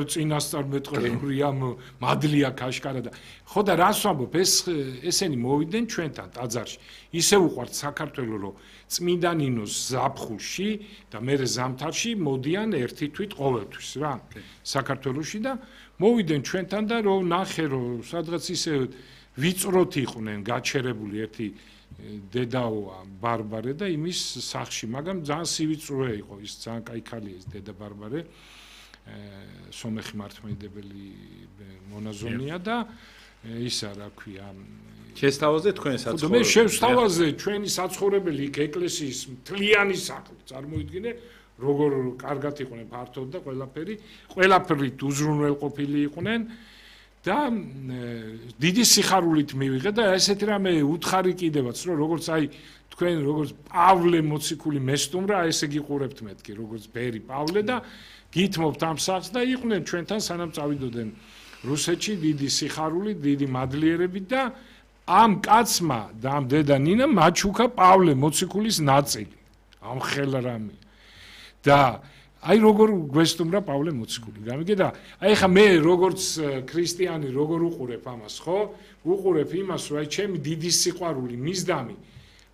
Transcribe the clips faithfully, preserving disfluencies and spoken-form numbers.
წინასწარ მეტყველური ამ მადლია ქაშკარა და ხო და რას ვამბობ ეს ესენი მოვიდნენ ჩვენთან ტაძარში ისე უყვართ საქართველოს რომ წმინდა ნინოს ზაფხულში და მერე ზამთარში მოდიან ერთი თვით ყოველთვის რა საქართველოში და მოვიდნენ ჩვენთან და რომ ნახე რომ სადღაც ისე ვიწროთ იყვნენ გაჩერებული ერთი დედაო ბარბარე და იმის სახში მაგრამ ძალიან სივიწროა იყო ის ძალიან კაი ქალია ის დედა ბარბარე სომეხი მართლმადიდებელი მონაზონია და ისა რა ქვია შესთავაზე თქვენ საცხოვრებელი მე შესთავაზე ჩვენი საცხოვრებელი იქ ეკლესიის მთლიანი სახლი წარმოიდგინე როგორ კარგად იყვნენ ფართოდ და ყველაფერი ყველაფრით უზრუნველყოფილი იყვნენ და დიდი სიხარულით მივიღე და ესეთი რამე უთხარი კიდევაც რომ როგორც აი თქვენ როგორც პავლე მოციქული მესტუმრა ესე გიყურებთ მეთქი როგორც ბერი პავლე და გითმობთ ამ სახს და იყვნენ ჩვენთან სანამ წავიდოდნენ რუსეთში დიდი სიხარული დიდი მადლიერებით და ამ კაცმა და ამ დედა ნინამ მაჩუქა პავლე მოციქულის ნაწილი ამ ხელრამი და აი როგორ გვესტუმრა პავლე მოციქული გამიგე და აი ხა მე როგორც ქრისტიანი როგორ უყურებ ამას ხო უყურებ იმას რომ აი ჩემი დიდი სიყვარული მისდამი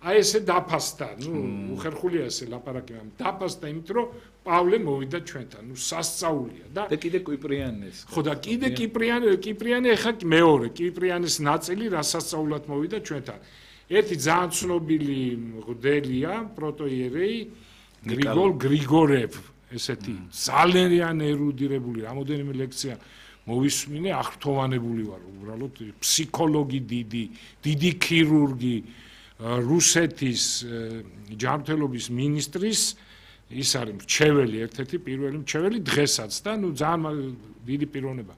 აი ესე დაფასდა ნუ უხერხულია ესე ლაპარაკი ამ დაფასდა იმით რომ პავლე მოვიდა ჩვენთან ნუ სასწაულია და და კიდე კიპრიანეს ხო და კიდე კიპრიანი კიპრიანი ხა მეორე კიპრიანეს ნაწილი რასასწაულად მოვიდა ჩვენთან ერთი ძალიან ცნობილი მღვდელია პროტოიერეი გრიგოლ გრიგორევ ესეთი ძალიან ერუდირებული რამოდენიმე ლექცია მოვისმინე აღრთოვანებული ვარ უბრალოდ ფსიქოლოგი დიდი დიდი ქირურგი რუსეთის ჯანმრთელობის მინისტრის ის არის მრჩეველი ერთ-ერთი პირველი მრჩეველი დღესაც და ნუ ძალიან დიდი პიროვნება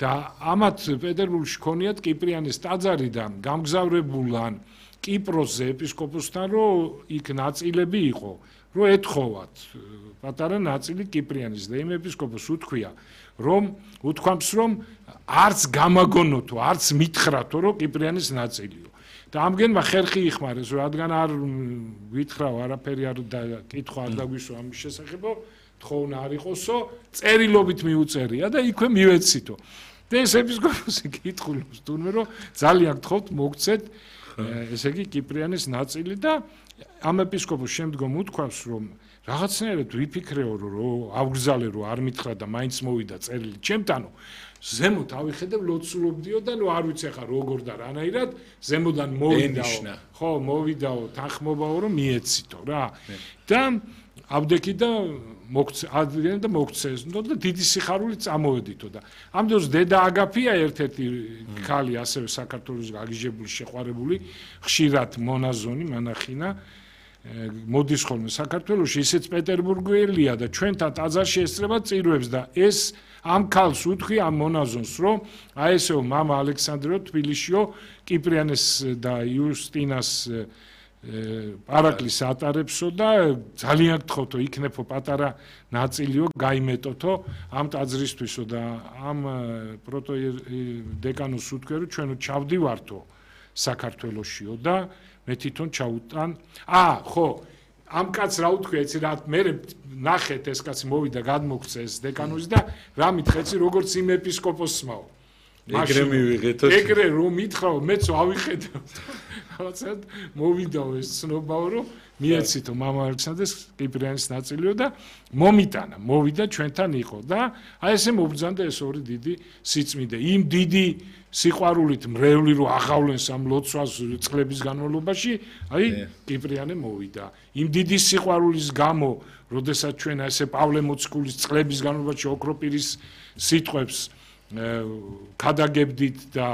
და ამათ პეტერბურგში ქონიათ კიპრიანეს ტაძარი და გამგზავრებულან კიპროსზე ეპისკოპოსთან რომ იქ ნაწილები იყო რომ ეთხოვათ პატარა ნაწილი კიპრიანის და იმ ეპისკოპოსს უთქვია რომ უთქვამს რომ არც გამაგონოთო არც მითხრათო რომ კიპრიანის ნაწილიო და ამგენმა ხერხი იხმარეს რადგან არ ვითხრაო არაფერი არ კითხვა არ დაგვისვა ამის შესახებო თხოვნა არ იყოსო წერილობით მიუწერია და იქვე მივეცითო და ეს ეპისკოპოსი კითხულობს თუნდაც რომ ძალიან გთხოვთ მოგცეთ ესე იგი კიპრიანის ნაწილი და ამ ეპისკოპოსს შემდგომ უთქვამს რომ რაღაცნაირად ვიფიქრეო რომ ავგზალე რომ არ მითხრა და მაინც მოვიდა წერილი ჩემთანო ზემოთ ავიხედე ლოცულობდიო და ნუ არ ვიცი ახლა როგორ და რანაირად ზემოდან მოვიდაო ხო მოვიდაო თანხმობაო რომ მიეცითო რა და ავდექი და მოგცე ადრიან და მოგცეზნო და დიდი სიხარული წამოვედითო და ამ დროს დედა აგაფია ერთ-ერთი ქალი ასევე საქართველოს გაგიჟებული შეყვარებული ხშირად მონაზონი მანახინა მოდის ხოლმე საქართველოში ისეც პეტერბურგელია და ჩვენთან ტაძარში ესწრება წირვებს და ეს ამ ქალს უთქვი ამ მონაზონს რომ აი ესეო მამა ალექსანდრო თბილისშიო კიპრიანეს და იუსტინას პარაკლის ატარებსო და ძალიან გთხოვთო იქნებო პატარა ნაწილიო გაიმეტოთო ამ ტაძრისთვისო და ამ პროტოდეკანოს უთქვია რომ ჩვენო ჩავდივართო საქართველოსშიო და მე თვითონ ჩაუტან აა ხო ამ კაცს რა უთქვია იცი რა მე ნახეთ ეს კაცი მოვიდა გადმოგცე ეს დეკანოზი და რა მითხეცი როგორც იმ ეპისკოპოსმაო ეგრე მივიღეთო ეგრე რომ მითხრაო მეც ავიხედავ რაღაცად მოვიდაო ეს ცნობაო რომ მიეცითო მამა ალექსანდრეს კიპრიანის ნაწილიო და მომიტანა მოვიდა ჩვენთან იყო და აი ესე მობრძანდა ეს ორი დიდი სიწმინდე იმ დიდი სიყვარულით მრევლი რო აღავლენს ამ ლოცვას წლების განმავლობაში აი კიპრიანე მოვიდა იმ დიდი სიყვარულის გამო როდესაც ჩვენ ესე პავლე მოციქულის წლების განმავლობაში ოქროპირის სიტყვებს გადაგებდით და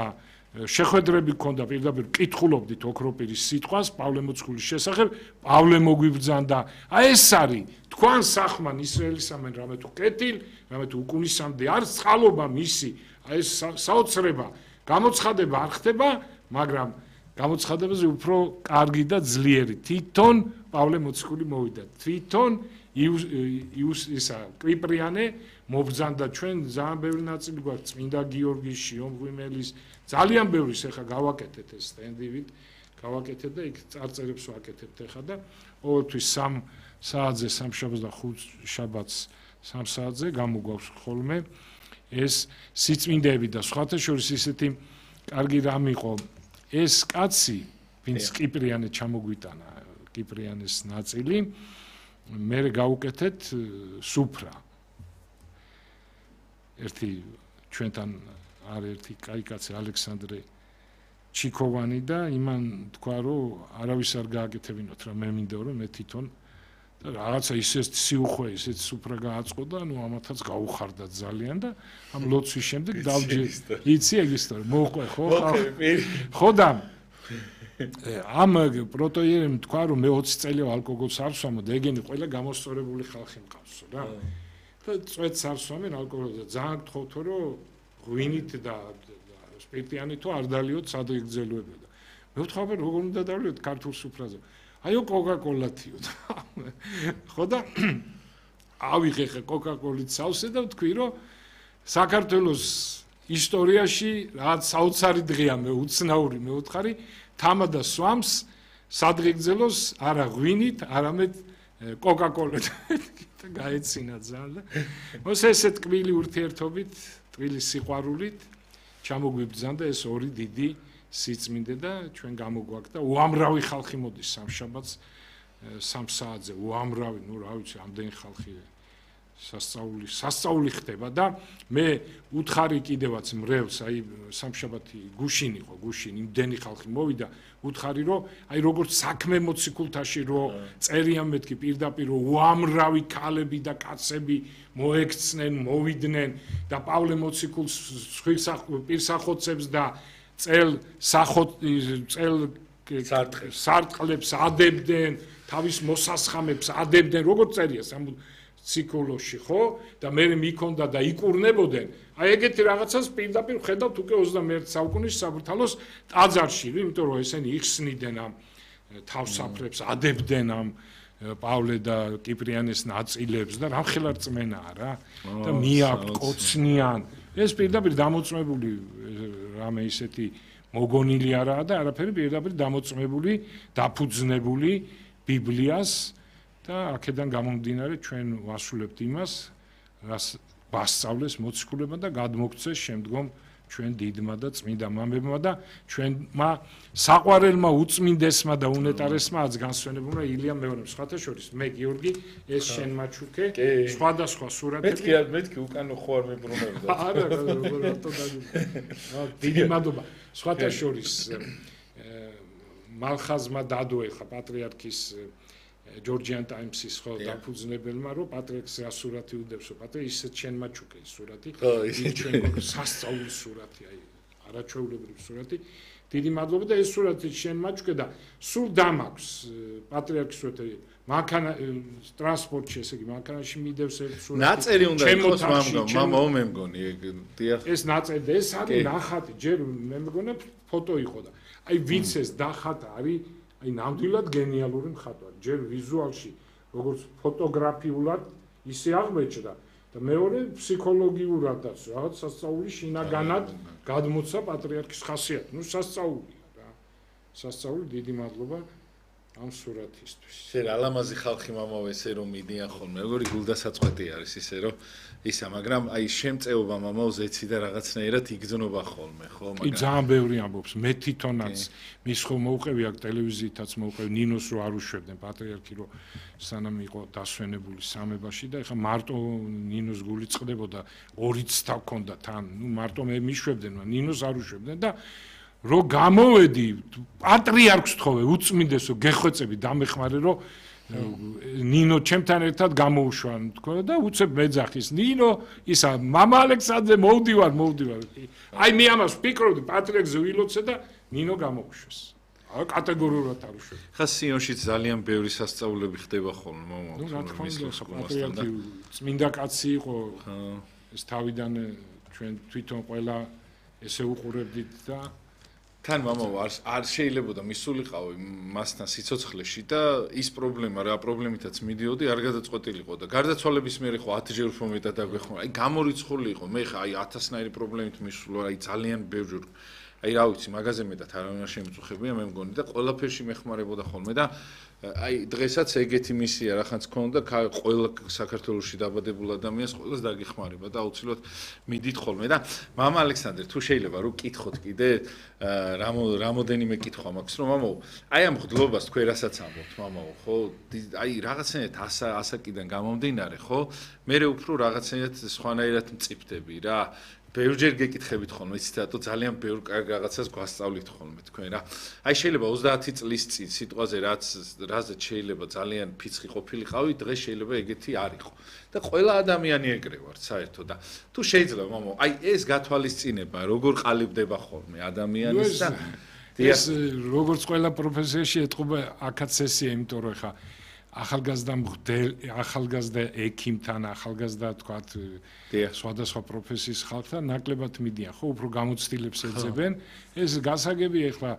შეხვედრები გქონდა პირდაპირ კითხულობდით ოქროპირის სიტყვას პავლე მოციქულის შესახებ პავლე მოგვიბრძანდა აი ეს არის თქვენ სახმან ისრაელისამენ რამე თუ კეთილ რამე თუ უკუნისამდე არის წყალობა მისი აი ეს საოცრება გამოცხადება არ ხდება მაგრამ გამოცხადებაზე უფრო კარგი და ძლიერი თვითონ პავლე მოციქული მოვიდა თვითონ იუს ისა კიპრიანე მობრძანდა ჩვენ ძალიან ბევრი ნაწილი გვაქვს წმინდა გიორგის შიომ ღვიმელის ძალიან ბევრი ეხა გავაკეთეთ ეს სტენდივით გავაკეთეთ და იქ წარწერებს ვაკეთებთ ეხა და ყოველთვის სამ საათზე სამშაბათს და ხუთ შაბათს სამ საათზე გამოგვავს ხოლმე ეს სიწმინდეები და სხვათა შორის ისეთი კარგი რამ იყო ეს კაცი ვინც კიპრიანე ჩამოგვიტანა კიპრიანეს ნაწილი მე გავუკეთეთ სუფრა ერთი ჩვენთან არ ერთი კაი კაცი ალექსანდრე ჩიქოვანი და იმან თქვა რომ არავის არ გააკეთებინოთ რა მე მინდა რომ მე თვითონ და რაღაცა ისეთ სიუხვე ისეთ სუფრა გააწყო და ნუ ამათაც გაუხარდა ძალიან და ამ ლოცვის შემდეგ დავჯერ იცი ეგ ისტორია მოყვე ხო ხო და ამ პროტოიერემ თქვა რომ მე ოცი წელი ალკოგოლს არ ვსვამო და ეგენი ყველა გამოსწორებული ხალხი მყავსო რა და წვეთს არ ვსვამენ ალკოგოლს და ძალიან გთხოვთო რომ ღვინით და სპირტიანი თუ არ დალიოთ სადღეგრძელოება და მე ვთხოვე როგორ უნდა დავლიოთ ქართულ სუფრაზე აიო კოკაკოლათიო ხო და ავიღე ხე კოკაკოლით სავსე და ვთქვი რომ საქართველოს ისტორიაში რაც საოცარი დღეა მე უცნაური მე ვთხარი თამადა სვამს სადღეგრძელოს არა ღვინით არამედ კოკაკოლით და გაეცინა ძალიან მოს ესე ტკბილი ურთიერთობით ტკბილი სიყვარულით ჩამოგვიბრძანდა ეს ორი დიდი სიწმინდე და ჩვენ გამოგვაკდა უამრავი ხალხი მოდის სამშაბათს სამ საათზე უამრავი ნუ რა ვიცი ამდენი ხალხი სასწაული სასწაული ხდება და მე უთხარი კიდევაც მრევლს აი სამშაბათი გუშინ იყო გუშინ იმდენი ხალხი მოვიდა უთხარი რომ აი როგორც საქმე მოციქულთაში რომ წერიან მეთქი პირდაპირ რომ უამრავი ქალები და კაცები მოექცნენ მოვიდნენ და პავლე მოციქულს პირსახოცებს და წელ სახოთ წელ სარტყლებს ადებდნენ თავის მოსასხამებს ადებდნენ როგორც წერია ციკლოში ხო და მე მიქონდა და იკურნებოდნენ აი ეგეთი რაღაცას პირდაპირ ხედავთ უკვე ოცდამეერთე საუკუნის საბურთალოს ტაძარში იმიტომ რომ ესენი იხსნიდნენ ამ თავსაფრებს ადებდნენ ამ პავლე და კიპრიანეს ნაწილებს და რამხელა რწმენაა რა და მიაქვთ კოცნიან ეს პირდაპირ დამოწმებული რამე ისეთი მოგონილი არაა და არაფერი პირდაპირ დამოწმებული დაფუძნებული ბიბლიას და აქედან გამომდინარე ჩვენ ვასრულებთ იმას რას ვასწავლეს მოციქულებმა და გადმოგცეს შემდგომ ჩვენ დიდმა და წმინდა მამებმა და ჩვენმა საყვარელმა უწმინდესმა და უნეტარესმა აც განსვენებულმა ილია მეორემ სხვათა შორის მე გიორგი ეს შენ მაჩუკე სხვადასხვა სურათები მეთქი მეთქი უკანო ხო არ მებრუნებდა არა როგორ რატო დაგვი დიდი მადლობა სხვათა შორის მალხაზმა დადო ეხა პატრიარქის ჯორჯიან ტაიმსის ხო დაფუძნებელმა რომ პატრიარქს რა სურათი უდევსო პატრიარქ ისეთ შენ მაჩუკე სურათი ის ჩვენ სასწაულის სურათი აი არაჩვეულებრივი სურათი დიდი მადლობა და ეს სურათი შენ მაჩუკე და სულ დამაქვს პატრიარქის სურათი მანქანა ტრანსპორტში ესე იგი მანქანაში მიდევს ერთ სურათი ნაწერი უნდა იყოს მამგო მამაო მე მგონი ეგ დიახ ეს ნაწერი და ეს არის ნახატი ჯერ მე მგონია ფოტო იყო და აი ვინც ეს დახატა არის აი ნამდვილად გენიალური მხატვარი ჯერ ვიზუალში როგორც ფოტოგრაფიულად ისე აღმოჩნდა და მეორე ფსიქოლოგიურადაც რაღაც სასწაული შინაგანად გადმოცა პატრიარქის ხასიათი ნუ სასწაულია რა სასწაული დიდი მადლობა ამ სურათისთვის შენ ალამაზი ხალხი მამაო ესე რომ მიდიან ხოლმე როგორი გულდასაწყვეტი არის ისე რომ ისა მაგრამ აი შემწეობა მამაო ზეცი და რაღაცნაირად იგრძნობა ხოლმე ხო მაგრამ კი ძალიან ბევრი ამბობს მე თვითონაც მის ხო მოუყევი აქ ტელევიზიითაც მოუყევი ნინოს რო არ უშვებდნენ პატრიარქი რო სანამ იყო დასვენებული სამებაში და ეხა მარტო ნინოს გული წყდებოდა ორი ცდა ჰქონდა თან ნუ მარტო მე მიშვებდნენ ნინოს არ უშვებდნენ და რო გამოვედი პატრიარქს თხოვე უწმინდესო გეხვეწები დამეხმარე რომ ნინო ჩემთან ერთად გამოუშვა თქო და უცებ მეძახის ნინო ისა მამა ალექსანდრე მოვდივარ მოვდივარ აი მე ამას ვფიქრობდი პატრიარქს ვილოცე და ნინო გამოუშვეს აი კატეგორიულად არ უშვებ ხა სიონშიც ძალიან ბევრი სასწაულები ხდება ხოლმე მამა ნუ რა თქმა უნდა პატრიარქი წმინდა კაცი იყო ეს თავიდან ჩვენ თვითონ ყველა ესე უყურებდით და თან მამაო არ არ შეიძლებოდა მისულიყავი მასთან სიცოცხლეში და ის პრობლემა რა პრობლემითაც მიდიოდი არ გადაწყვეტილიყო და გარდაცვალების მერე ხო ათი ჯერ უფრო მეტად დაგვეხმარა აი გამორიცხული იყო მე ხა აი ათასნაირი პრობლემით მისულა აი ძალიან ბევრჯერ აი რა ვიცი, მაგაზე მეტად არავინ არ შემიწუხებია, მე მგონი და ყველაფერში მეხმარებოდა ხოლმე და აი დღესაც ეგეთი მისია რახანც ქონდა, ყველა საქართველოში დაბადებულ ადამიანს ყველას დაგიხმარება და აუცილებლად მიდით ხოლმე და მამა ალექსანდრე, თუ შეიძლება რომ კითხოთ კიდე რამოდენიმე კითხვა მაქვს, რომ მამაო, აი ამ ღდლობას თქვენ რასაც ამბობთ, მამაო, ხო? აი რაღაცნაირად ასა ასაკიდან გამომდინარე, ხო? მე უფრო რაღაცნაირად სხვანაირად მწიფდები რა. ბევრჯერ გეკითხებით ხოლმე, იცით რატო ძალიან ბევრ კარგ რაღაცას გვასწავლით ხოლმე თქვენ რა. აი შეიძლება ოცდაათი წლის წინ სიტყვაზე რაც რაზეც შეიძლება ძალიან ფიცხი ყოფილიყავი, დღეს შეიძლება ეგეთი არ იყო. და ყველა ადამიანი ეგრე ვართ საერთოდ და თუ შეიძლება მამო, აი ეს გათვალისწინება როგორ ყალიბდება ხოლმე ადამიანის და ეს როგორც ყველა პროფესიაში ეთყობა აქაც ესია, იმიტომ რომ ხა ახალგაზრდა მღვდელ, ახალგაზრდა ექიმთან, ახალგაზრდა თქვათ სხვადასხვა პროფესიის ხალხთან ნაკლებად მიდიან, ხო, უფრო გამოცდილებს ეძებენ. ეს გასაგები ეხლა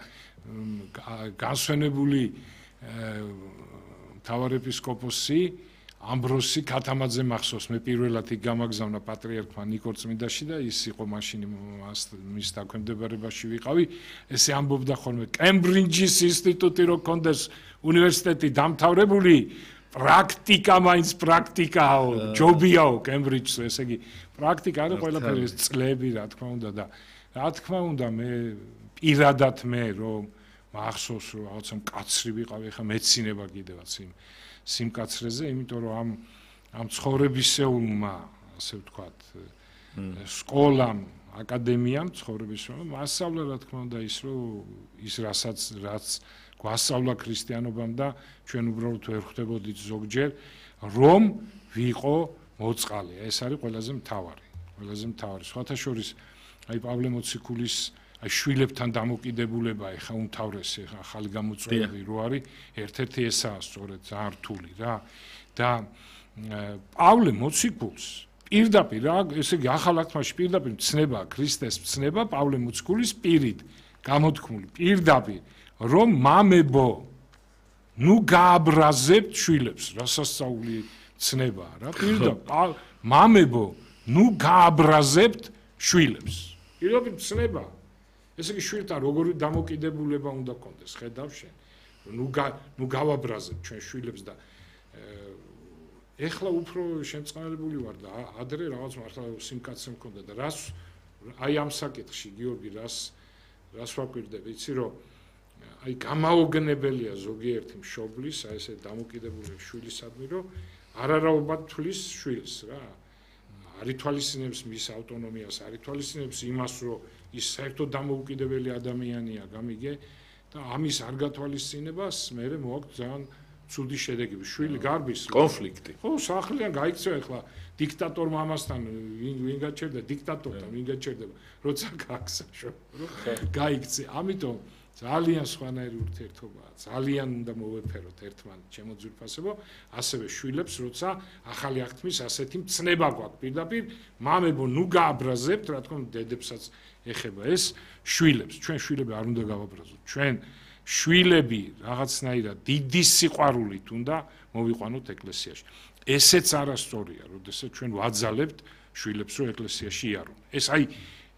განსვენებული მთავარეპისკოპოსი ამბროსი ქათამაძე მახსოვს, მე პირველად იქ გამაგზავნა პატრიარქმა ნიკორ წმინდაში და ის იყო მაშინ მის დაქვემდებარებაში ვიყავი. ესე ამბობდა ხოლმე კემბრიჯის ინსტიტუტი რო კონდეს უნივერსიტეტი დამთავრებული, პრაქტიკა მაინც პრაქტიკაო, ჯობიაო კემბრიჯს, ესე იგი პრაქტიკა არა ყველაფერი ეს წლები რა თქმა უნდა და რა თქმა უნდა მე პირადად მე რომ მახსოვს რომ რაღაცა მკაცრი ვიყავი, ხა მეცინება კიდევაც იმ სიმკაცრეზე, იმიტომ რომ ამ ამ ცხოვრებისეულმა, ასე ვთქვათ, სკოლამ, აკადემიამ ცხოვრებისეულმა მასწავლა რა თქმა უნდა ის რომ ის რასაც რაც გვასწავლა ქრისტიანობამ და ჩვენ უბრალოდ ვერ ხვდებოდით ზოგჯერ რომ ვიყო მოწყალე. ეს არის ყველაზე მთავარი, ყველაზე მთავარი. სხვათა შორის აი პავლე მოციქულის აი შვილებთან დამოკიდებულება ეხა უმთავრესი ეხა ახალი გამოწვევები რო არის, ერთ-ერთი ესაა სწორედ ძალიან რთული რა. და პავლე მოციქულს პირდაპირ რა, ესე იგი ახალ აღთქმაში პირდაპირ ცნება ქრისტეს ცნება პავლე მოციქულის პირით გამოთქმული პირდაპირ რომ მამებო ნუ გააბრაზებთ შვილებს, რასასწაული ცნება რა, პირდაპირ მამებო ნუ გააბრაზებთ შვილებს. პირდაპირ ცნება. ესე იგი შვილთან როგორი დამოკიდებულება უნდა კონდეს, ხედავ შენ. ნუ ნუ გავაბრაზებ ჩვენ შვილებს და ეხლა უფრო შემწყნარებული ვარ და ადრე რაღაც მართლა სიმკაცრე მქონდა და რას აი ამ საკითხში გიორგი რას რას ვაკვირდები, იცი რომ აი გამაოგნებელია ზოგიერთი მშობლის, აი ესე დამოკიდებული შვილისადმი, რომ არარაობად თვლის შვილს რა. არ ითვალისწინებს მის ავტონომიას, არ ითვალისწინებს იმას, რომ ის საერთოდ დამოუკიდებელი ადამიანია, გამიგე და ამის არ გათვალისწინებას მე მოაქვს ძალიან ცუდი შედეგები. შვილი გარბის კონფლიქტი. ხო, სახლიდან გაიქცევა ეხლა დიქტატორ მამასთან ვინ ვინ გაჩერდა, დიქტატორთან ვინ გაჩერდება, როცა გაგსაშო, რომ გაიქცე. ამიტომ ძალიან სხვანაირი ურთიერთობაა. ძალიან უნდა მოვეფეროთ ერთმანეთ ჩემო ძვირფასებო, ასევე შვილებს, როცა ახალი აღთქმის ასეთი მცნება გვაქვს პირდაპირ, მამებო ნუ გააბრაზებთ, რა თქმა უნდა, დედებსაც ეხება ეს შვილებს. ჩვენ შვილები არ უნდა გავაბრაზოთ. ჩვენ შვილები რაღაცნაირად დიდი სიყვარულით უნდა მოვიყვანოთ ეკლესიაში. ესეც არასწორია, როდესაც ჩვენ ვაძალებთ შვილებს, რომ ეკლესიაში იარონ. ეს აი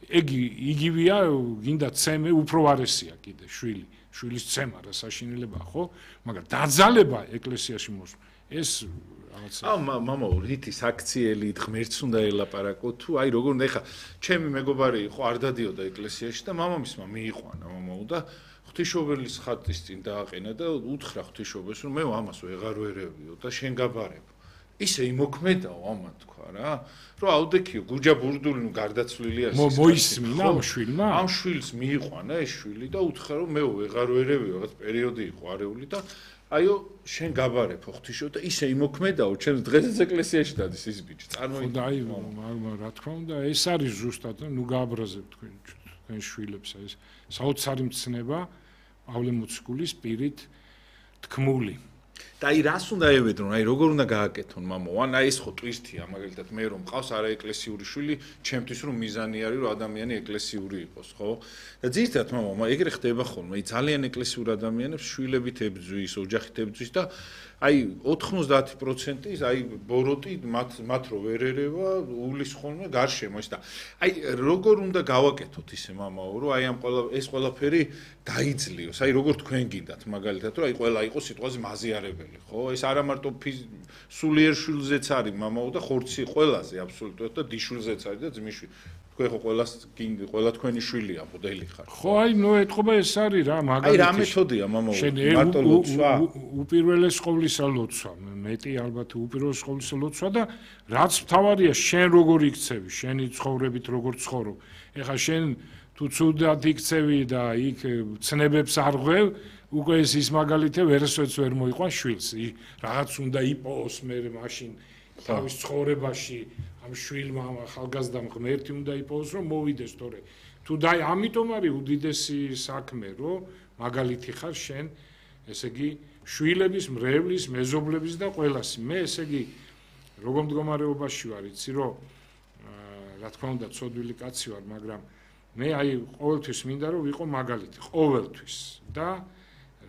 ეგ იგივეა, გინდა ცემე უფრო არესია კიდე შვილი, შვილის ცემა რა საშინელებაა, ხო? მაგრამ დაძალება ეკლესიაში მოსვლა, ეს რაღაცა. აუ მამაო, რითი საქციელი ღმერთს უნდა ელაპარაკო თუ აი როგორ უნდა ეხა ჩემი მეგობარი იყო არ დადიოდა ეკლესიაში და მამამისმა მიიყვანა მამაო და ღვთისმშობელის ხატის წინ დააყენა და უთხრა ღვთისმშობელს რომ მე ამას ვეღარ ვერევიო და შენ გაბარებ. ისე იმოქმედაო ამან თქვა რა, რომ აუდექიო გურჯა ბურდული ნუ გარდაცვლილია ის. მოისმინა ამ შვილმა? ამ შვილს მიიყვანა ეს შვილი და უთხრა რომ მე ვეღარ ვერევიო, რაღაც პერიოდი იყო არეული და აიო შენ გაბარებ ღვთისმშობელს და ისე იმოქმედაო, ჩემს დღესაც ეკლესიაში დადის ის ბიჭი. წარმოიდგინე. და აი რა თქმა უნდა, ეს არის ზუსტად ნუ გააბრაზებ თქვენ თქვენ შვილებს ეს საოცარი მცნება პავლე მოციქულის პირით თქმული. და აი რას უნდა ევედრონ, აი როგორ უნდა გააკეთონ მამო? ან აი ეს ხო ტვისტია, მაგალითად მე რომ მყავს არაეკლესიური შვილი, ჩემთვის რომ მიზანი არის რომ ადამიანი ეკლესიური იყოს, ხო? და ძირითადად მამო, ეგრე ხდება ხოლმე, აი ძალიან ეკლესიურ ადამიანებს შვილებით ებძვის, ოჯახით ებძვის და აი ოთხმოცდაათი პროცენტი აი ბოროტი მათ მათ რო ვერ ერევა უვლის ხოლმე გარშემო ის და აი როგორ უნდა გავაკეთოთ ისე მამაო რომ აი ამ ყველა ეს ყველაფერი დაიძლიოს აი როგორ თქვენ გინდათ მაგალითად რომ აი ყველა იყოს სიტყვაზე მაზიარებელი ხო ეს არა მარტო სულიერ შვილზეც არის მამაო და ხორცი ყველაზე აბსოლუტურად და დიშვილზეც არის და ძმისშვილი თქვენ ხო ყველას ყველა თქვენი შვილია მოდელი ხარ ხო აი ნუ ეთქობა ეს არის რა მაგალითად აი რა მეთოდია მამაო მარტო ლოცვა უპირველეს ყოვლისა ლოცვა მეტი ალბათ უპირველეს ყოვლისა ლოცვა და რაც მთავარია შენ როგორ იქცევი შენი ცხოვრებით როგორ ცხოვრობ ეხლა შენ თუ ცუდად იქცევი და იქ ცნებებს არ ღვევ უკვე ეს ის მაგალითე ვერასოდეს ვერ მოიყვან შვილს რაღაც უნდა იპოვოს მე მაშინ თავის ცხოვრებაში ამ შვილმა ახალგაზრდამ ღმერთი უნდა იპოვოს რომ მოვიდეს თორე თუ და ამიტომ არის უდიდესი საქმე რომ მაგალითი ხარ შენ ესე იგი შვილების მრევლის მეზობლების და ყველასი მე ესე იგი როგორ მდგომარეობაში ვარ იცი რომ რა თქმა უნდა ცოდვილი კაცი ვარ მაგრამ მე აი ყოველთვის მინდა რომ ვიყო მაგალითი ყოველთვის და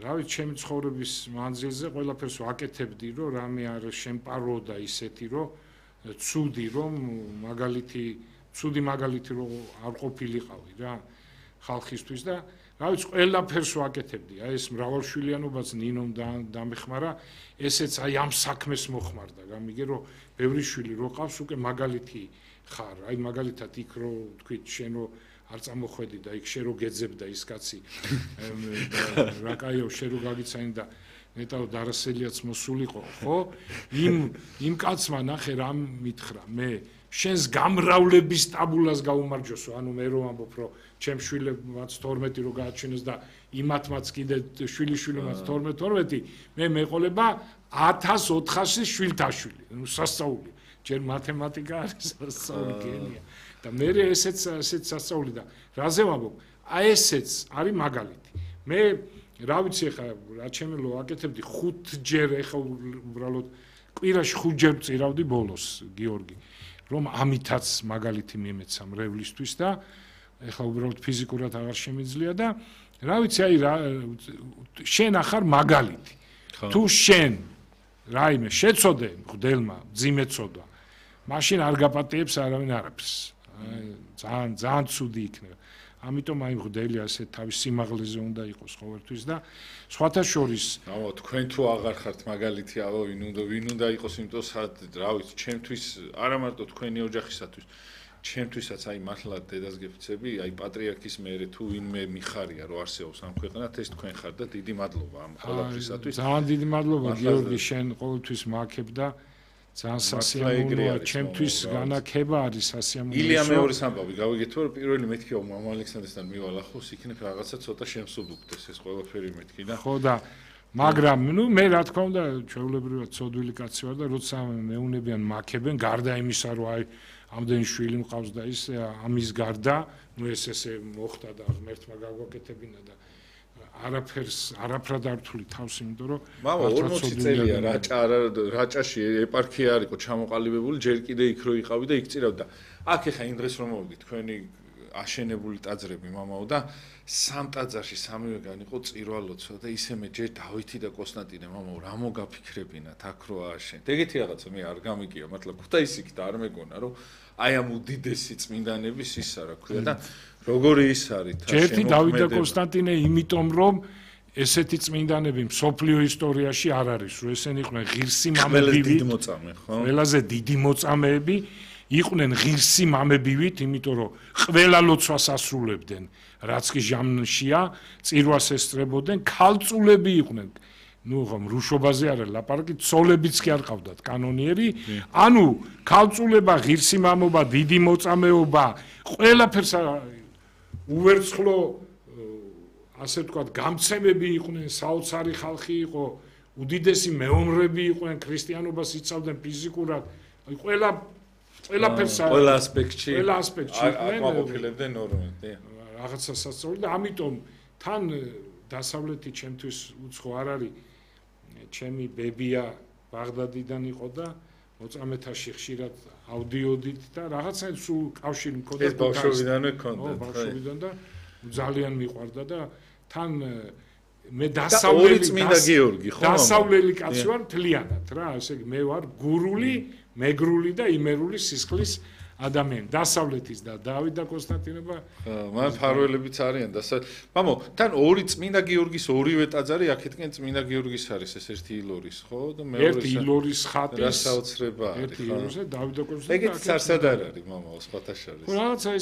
რა ვიცი ჩემი ცხოვრების მანძილზე ყველაფერს ვაკეთებდი რომ რამე არ შემპარო და ისეთი რომ ცუდი რომ მაგალითი ცუდი მაგალითი რომ არ ყოფილიყავი რა ხალხისთვის და რა ვიცი ყველაფერს ვაკეთებდი აი ეს მრავალშვილიანობაც ნინომ დამეხმარა ესეც აი ამ საქმეს მოხმარდა გამიგე რომ ბევრი შვილი რო ყავს უკვე მაგალითი ხარ აი მაგალითად იქ რო თქვით შენ რო არ წამოხვედი და იქ შენ რო გეძებდა ის კაცი რა კაიო შენ რო გაგიცანი და ნეტავ დარასელიაც მოსულიყო ხო იმ იმ კაცმა ნახე რა მითხრა მე შენს გამრავლების ტაბულას გაუმარჯოსო ანუ მე რო ამბობ რომ ჩემ შვილებმაც თორმეტი რო გააჩინოს და იმათმაც კიდე შვილიშვილებმაც თორმეტი თორმეტი მე მეყოლება ათას ოთხასი შვილთაშვილი ნუ სასწაული ჯერ მათემატიკა არის სასწაული გენია და მე ესეც ესეც სასწაული და რაზე ვამბობ აი ესეც არის მაგალითი მე რა ვიცი ხა რა ჩემელო აკეთებდი ხუთჯერ ეხა უბრალოდ კვირაში ხუთჯერ წირავდი ბოლოს გიორგი რომ ამითაც მაგალითი მიმეცა მრევლისთვის და ეხა უბრალოდ ფიზიკურად აღარ შემიძლია და რა ვიცი აი რა შენ ახარ მაგალითი თუ შენ რაიმე შეწოდე მღვდელმა ძიმეწოდა მაშინ არ გაპატიებს არავინ არაფერს აი ძალიან ძალიან ცუდი იქნება ამიტომ აი მღვდელი ასე თავის სიმაღლეზე უნდა იყოს ყოველთვის და სხვათა შორის აუ თქვენ თუ აღარ ხართ მაგალითი აუ ვინ უნდა ვინ უნდა იყოს იმიტომ რა ვიცი ჩემთვის არა მარტო თქვენი ოჯახისათვის ჩემთვისაც აი მართლა დედას გეფიცები აი პატრიარქის მერე თუ ვინმე მიხარია რომ არსებობს ამ ქვეყანად ეს თქვენ ხართ და დიდი მადლობა ამ ყველაფრისათვის ძალიან დიდი მადლობა გიორგი შენ ყოველთვის მააქებ და ძალიან სასიამოვნოა ჩემთვის განაქება არის სასიამოვნო ილია მეორის ამბავი გავიგეთ რომ პირველი მეთქი მამა ალექსანდრესთან მივალახოს იქნებ რაღაცა ცოტა შემსუბუქდეს ეს ყველაფერი მეთქი და ხო და მაგრამ ნუ მე რა თქმა უნდა ჩვეულებრივად ცოდვილი კაცი ვარ და როცა მეუნებიან მააქებენ გარდა იმისა რომ აი ამდენი შვილი მყავს და ის ამის გარდა ნუ ეს ესე მოხდა და ღმერთმა გაგვაკეთებინა და არაფერს არაფრად არ თვლი თავს იმიტომ რომ მამა ორმოცი წელია რაჭა რაჭაში ეპარქია არისო ჩამოყალიბებული ჯერ კიდე იქ რო იყავი და იქ წირავდი და აქ ეხა იმ დღეს რომ მოვიდი თქვენი აშენებული ტაძრები მამაო და სამ ტაძარში სამივეგან იყო წირვალოცვა და ისე მე ჯერ დავითი და კონსტანტინე მამაო რა მოგაფიქრებინათ აქ რო ააშენეთ ეგეთი რაღაცა მე არ გამიგია მართლა ქუთაისიქით არ მეგონა რომ აი ამ უდიდესი წმინდანების ისა რა ქვია და როგორი ის არის თა შემოქმედება ჯერთი დავით და კონსტანტინე იმიტომ რომ ესეთი წმინდანები მსოფლიო ისტორიაში არ არის რომ ესენი იყვნენ ღირსი მამებივით ყველაზე დიდი მოწამეები იყვნენ ღირსი მამებივით იმიტომ რომ ყველა ლოცვას ასრულებდნენ რაც კი ჟამშია წირვას ესწრებოდნენ ქალწულები იყვნენ ნუ ხომ რუშობაზე არა ლაპარაკი ცოლებიც კი არ ყავდათ კანონიერი ანუ ქალწულება ღირსი მამობა დიდი მოწამეობა ყველაფერს უვერცხლო ასე ვთქვათ გამცემები იყვნენ საოცარი ხალხი იყო უდიდესი მეომრები იყვნენ ქრისტიანობას იცავდნენ ფიზიკურად აი ყველა ყველაფერს ყველა ასპექტში ყველა ასპექტში იყვნენ აკმაყოფილებდნენ ნორმალურად რაღაცა სასწაული და ამიტომ თან დასავლეთი ჩემთვის უცხო არ არის ჩემი ბებია ბაღდადიდან იყო და მოწამეთაში ხშირად ავდიოდით და რაღაცა სულ კავშირი მქონდა ეს ბავშვობიდანვე ქონდა ბავშვობიდან და ძალიან მიყვარდა და თან მე დასავლელი წმინდა გიორგი, ხო? დასავლელი კაცი ვარ მთლიანად რა, ესე იგი მე ვარ გურული, მეგრული და იმერული სისხლის ადამიანი. დასავლეთის და დავით და კონსტანტინობა. მან ფარველებიც არიან და მამო, თან ორი წმინდა გიორგის ორივე ტაძარი აქეთკენ წმინდა გიორგის არის, ეს ერთი ილორის, ხო? და მეორე ერთი ილორის ხატის რა საოცრება არის, ერთი ილორისა დავით და კონსტანტინობა. ეგეც არსად არ არის, მამო, სხვათა შორის. რაღაცა ეს